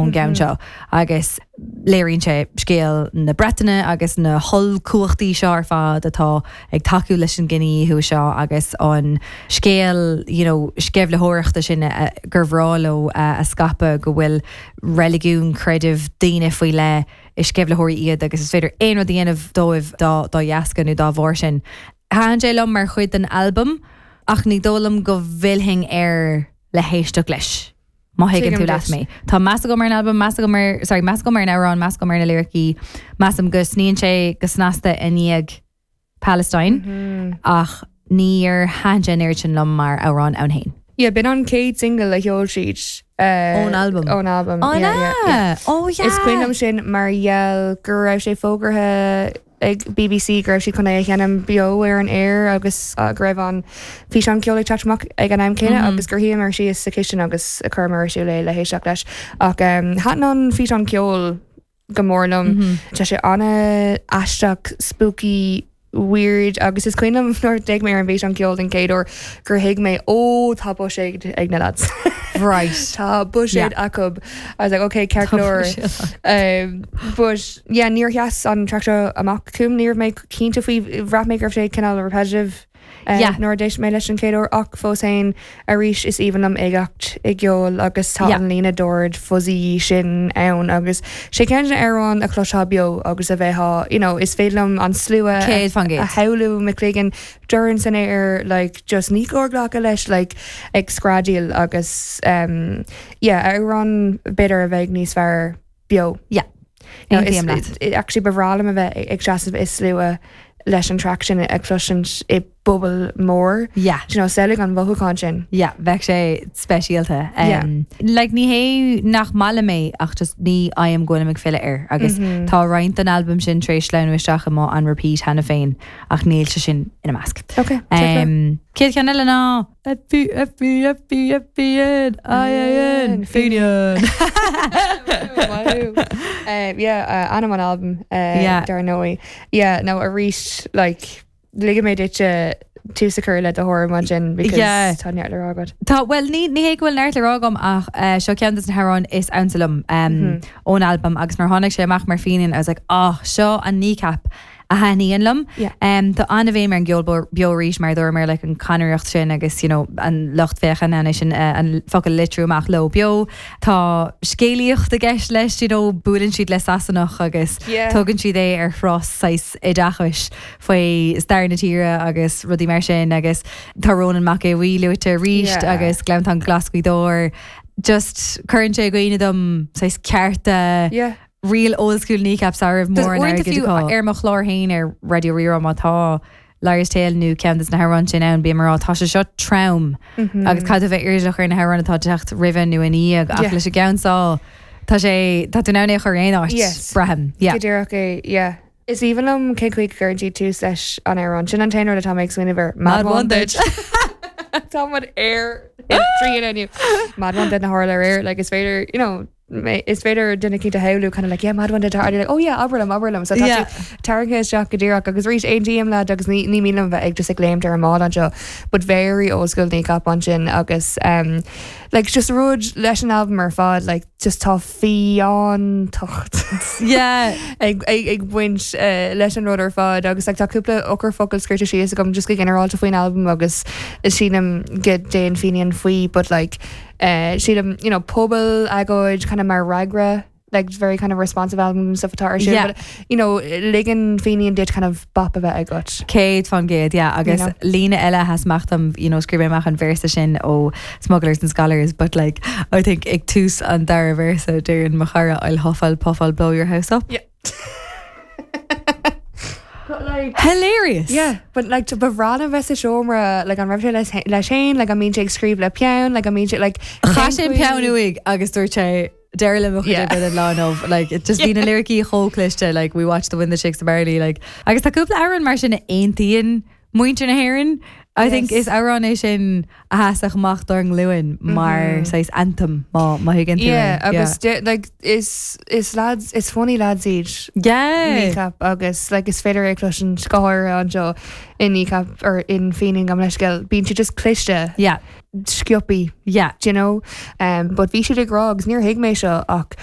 ón gceann seo agus léiríonn sé scéal na Breataine agus na hollchumhachtaí seo ar fad atá ag tacú leis an gcinedhíothú seo agus an scéal you know sceimhlitheoireachta sin gur bhreá leo a scaipeadh go bhfuil reiligiún, creideamh daoine faoi leith is sceimhlitheoirí iad agus is féidir aon rud a dhéanamh dóibh dá dá dheasca nó dá bharr sin. Thaitin sé liom mar chuid den albam ach ní dóigh liom go bhfillfinn air le héisteacht leis. Má thuigeann tú leat mé. Tá meas agam ar an albam, meas agam ar, sorry, meas agam ar an amhrán, meas agam ar na liricí, measaim go sníonn sé go snasta i ndiaidh Palestine ach níor thaitin sé an oiread sin liom mar amhrán ann féin. Yeah, b'in an chéad single a sheol siad. Ón albam. Ón albam. An ea? Oh yeah! Is cuimhin liom sin mar gheall go raibh sé fógartha ag BBC go raibh siad chun é a sheinm beo ar an aer agus go raibh an físeán ceoil ag teacht amach ag an am céanna agus gur shuíomar síos sa chistin agus chuireamar ar siúl é le héisteacht leis. Ach thaitin an físeán ceoil go mór liom. Tá sé an-aisteach, spooky, weird agus is cuimhin liom nuair a d'fhéach mé ar an bhfíseán ceoil den chéad uair gur thuig mé ó tá buiséad ag na lads. Right. Tá buiséad acu. I was like okay ceart go leor. But Yeah, níor sheas an traic seo amach chugam, ní raibh mé cinnte faoi, bhraith mé go raibh sé cineál repetitive Yeah. nuair a d'éist mé leis an chéad uair ach fós féin, arís is aoibhinn liom uigeacht i gceol agus tá Yeah. an líne dord fuzzy sin ann agus sé ceann de na hamhráin a chloisfeá beo agus a bheifeá, you know, is féidir liom an slua 100%. a shamhlú i mo chloigeann, dorn san aer, like just ní cóir glacadh leis, like ag screadaíl agus um, yeah, amhrán b'fhéidir a bheidh níos fearr beo. Yeah. No, Aontaím leat. Actually ba bhreá liom a bheith ag seasamh i slua leis an traic sin a chloisint i bpuball mór. Yeah. Do you know, samhlaigh an mhothúchán sin. Yeah, bheadh sé speisialta. Yeah. Like ní hé nach maith liom é ach just ní fhaighim go bhfuilim ag filleadh air agus tá roinnt den albam sin tar éis sleamhnú isteach i mo on repeat cheana féin ach níl sé sin ina measc. Okay. Um, Chéad cheann eile ná F E F E F E F E N I A N Finian. Yeah, ainm an albam Yeah. dar ndóigh. Yeah, no arís like ligfidh mé duit tús a chur le do thuairim ansin because Yeah. tá neart le rá agat. Tá, bhuel ní ní hé go bhfuil neart le rá agam ach seo ceann de na hamhráin is ansa liom ón albam agus nuair a tháinig sé amach mar Finian I was like ah seo an Kneecap a thaitníonn liom. Tá an-bhéim ar an gceol beo arís mar a dúramar like an chonaireacht sin agus you know an lucht féachana é sin an focal a litriú amach leo beo. Tá scéalaíocht i gceist leis you know buaileann siad le Sasanach agus tugann siad é ar thuras saghas oideachais faoi stair na tíre agus rudaí mar sin agus tá Rónán Mac Aodha Bhuí luaite arís agus Gleanntán Glas Ghaoth Dobhair. Just cuireann sé i gcuimhne dom saghas cearta real old school Kneecap sara raibh mórán Uaireanta airgid fiú acu. ar mo chlár féin ar Raidió Rí-Rá má tá Liar's Tale nó ceann de na hamhráin sin ann bím ag rá tá sé seo trom agus caithfidh tú bheith airdeallach ar na hamhráin atá ag teacht roimhe nó ina dhiaidh ach Yeah. leis an gceann seo tá sé tá tú in ann é a chur aon áit Yes. braithim. Yeah. Go díreach é, yeah. Is aoibhinn liom cén chaoi go gcuireann siad tús leis an amhrán. Sin an t-aon rud atá mé ag smaoineamh air. Mad one duit. Tá muid ar trí inniu. Mad one duit na tharla aréir, like is féidir, you know, is féidir duine eicínt a shamhlú kind of like yeah mad one duit and you're like oh yeah abair liom abair liom so tá Yeah. tú tarraingthe isteach go díreach agus arís aontaím leat agus ní ní mian liom bheith ag just ag léimt ar an mbád anseo but very old school Kneecap ansin agus um, like just rud leis an album ar fad like just tá fiántacht Yeah. ag ag ag baint uh, leis an rud ar fad agus like, tá cúpla eochairfhocal scríte síos agam just go ginearálta faoin album agus sílim go dtéann Finian faoi but like Uh, sílim, you know, pobal agóid kind of mar fhreagra like very kind of responsive album stuff atá ar siúl, Yeah. but you know, ligeann Finian duit kind of bop a bheith agat. 100%, yeah, agus You know? líne eile a sheas amach dom, you know, scríobh mé amach an véarsa sin ó Smugglers and Scholars, but like, I think ag tús an dara véarsa deireann mo chara I'll huff, I'll puff, I'll blow your house up. Yeah. But like Hilarious! Yeah, but like ba bhreá liom bheith sa seomra like an raibh sé leis leis féin, like an mbíonn sé ag scríobh le peann, like an mbíonn sé like Chaith sé an peann uaidh agus dúirt sé deireadh le mo chuid Yeah. oibre don lá inniu. Like it just bhí na liricí chomh cliste, like we watch the wind that shakes the barley, like agus tá cúpla amhrán mar sin a aontaíonn muintir na hÉireann. I think Yes. is amhrán é sin a sheasfadh amach dár nglúin mar saghas anthem má má thuigeann tú Yeah, é. agus de- like is is lads is funny lads iad Yeah. Kneecap agus like is féidir é cloisint go háirithe anseo in Kneecap or in Finian gabh mo leithscéal bíonn siad just cliste Yeah. sciobtha Yeah. do you know um, but bhí siad ag rá agus níor thuig mé seo ach.